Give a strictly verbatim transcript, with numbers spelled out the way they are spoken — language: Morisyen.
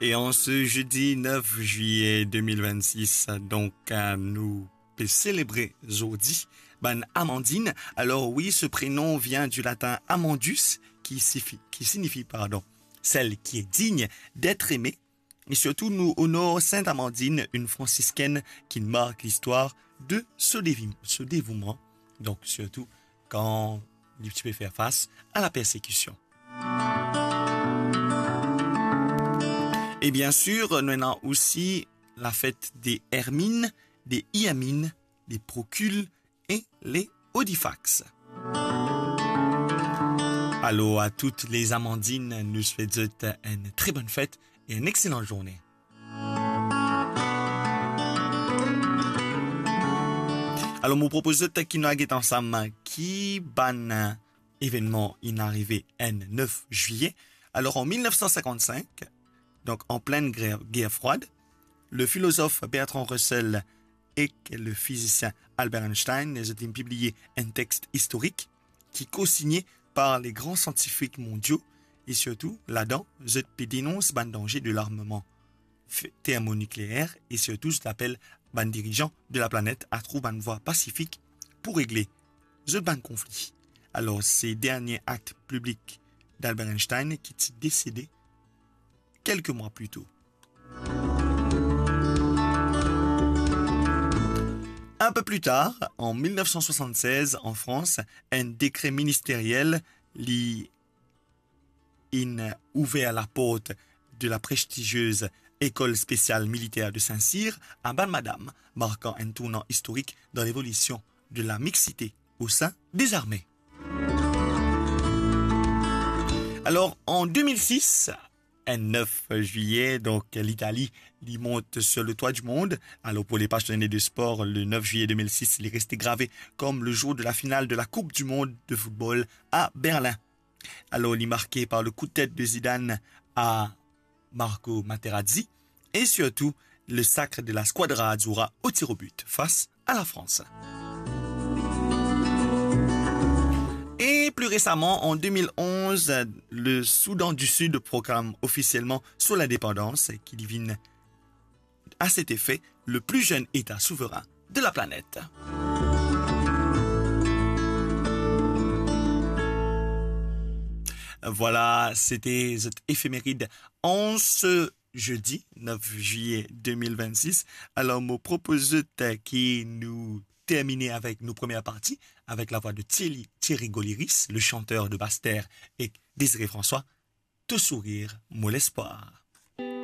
E an se zedi nef zwiye de mil vennsis, donk, eh, nou pe selebre zordi bann Amandine. Alor wi, se prenon vien di latin amandus, ki sifi-, ki signifi, pardon, celle qui est digne d'être aimée. E sirtou, nou onor Sint Amandine, enn fransiskinn ki mark listwar de so devi-, so devouman. Donk, sirtou kan li ti pe fer fas a la persekision. E bien sir, nou ena osi lafet de Hermine, de Hyamine, de Procule e le Odifax. Alor, a tout les Amandines, nou swet zot enn tre bonn fet e enn exselan zourne. Alor, mo propoz zot ki nou al get ansam ki bann evennman inn arive enn nef zwiye. Alor, an mil nef san sinkann-sink, donk an plinn gre-, guerre froide, le filozof Bertrand Russell ek le fizisien Albert Einstein, zot inn pibliye enn text istorik ki kosigne par le gran siantifik mondio, e sirtou, ladan, zot pe denons bann danze de larmman f-, termonukleer, e sirtou, zot apel bann dirizan de laplanet a trouv bann vwa pasifik pou regle zot bann konfli. Alor, se dernie akt piblik d'Albert Einstein ki ti desede kelke mwa pli to. Un peu plus tard, en mil nef san swasann-sez, an Frans, enn dekre ministeriel li inn ouver laport de la prestigiez École spéciale militaire de Saint-Cyr a bann madam, markan enn tournan istorik dan levolision de la mixité au sein des armées. Alor, an de mil sis, enn nef zwiye, donk, Litali, li mont sur le toit du monde. Alor, pou le pasionne de spor, le nef zwiye de mil sis, li reste grave comme le jour de la finale de la Coupe du monde de football à Berlin. Alor, li marke par le coup de tête de Zidane à Marco Materazzi et surtout le sacre de la Squadra Azzurra au tir au but face à la France. Et plus récemment, en deux mille onze, le Soudan du Sud proclame officiellement son indépendance, ki li vinn à cet effet le plus jeune État souverain de la planète. Voilà, c'était cette éphéméride en ce jeudi neuf juillet deux mille vingt-six. Alors, mo propoz zot ki nou termine avek nou première partie, avec la voix de Thierry, Thierry Goliris, le chanteur de Basse-Terre, et Désiré François, To sourir, mo lespwar.